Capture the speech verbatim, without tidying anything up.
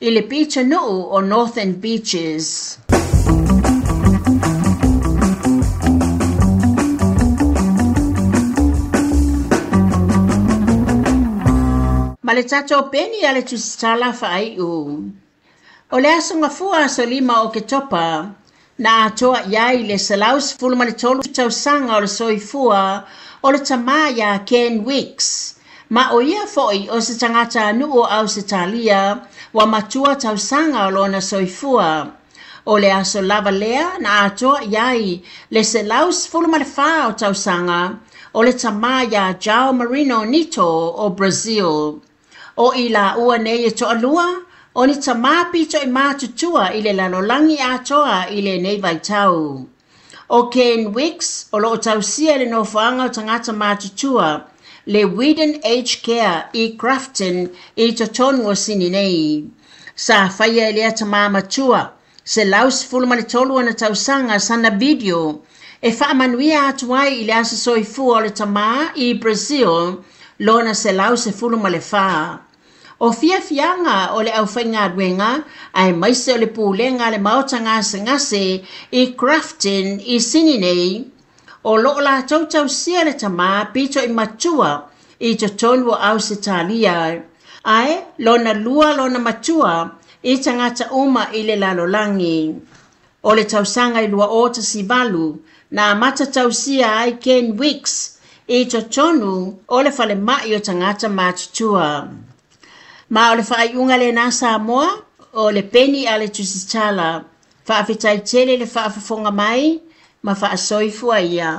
I le pitonuu o Northern Beaches. Ma le tatou peni a le tusitala faaiu. O le aso gafua aso lima o Oketopa, na atoa i ai le selau sefulu ma le tolu tausaga o le soifua o le tamā iā Ken Wicks, ma o ia foi o se tagatanuu o Ausetalia ua matua tausaga o lona soifua. O le aso lava lea na atoa i ai le selau sefulu ma le fa o tausaga o le tamā iā João Marino Nito o Brazil. O i laua nei e toalua, o ni tamā pito i matutua i le lalolagi atoa i lenei vaitau. O Ken Wicks o loo tausia le nofoaga o tagata matutua, le Weedon Aged Care i Grafton i totonu o Sini nei. Sa faia e lea tamā matua, selau sefulu ma le tolu ona tausaga sana video, e faamanuia atu ai i le aso soifua o le tamā i Brazil, lona selau sefulu ma le fa. O fiafiaga o le aufaigaluega aemaise o le pulega a le maota gasegase i Grafton i Sini nei, o loo latou tausia le tamā pito i matua i totonu o Ausetalia, ae lona lua lona matua i tagata uma i le lalolagi. O le tausaga i lua o tasi valu, na amata tausia ai Ken Wicks i totonu o le falemai o tagata matutua. Ma o le faaiuga lenā Samoa, o le peni a le tusitala, faafetai tele le faafofoga mai ma faasoifua ia.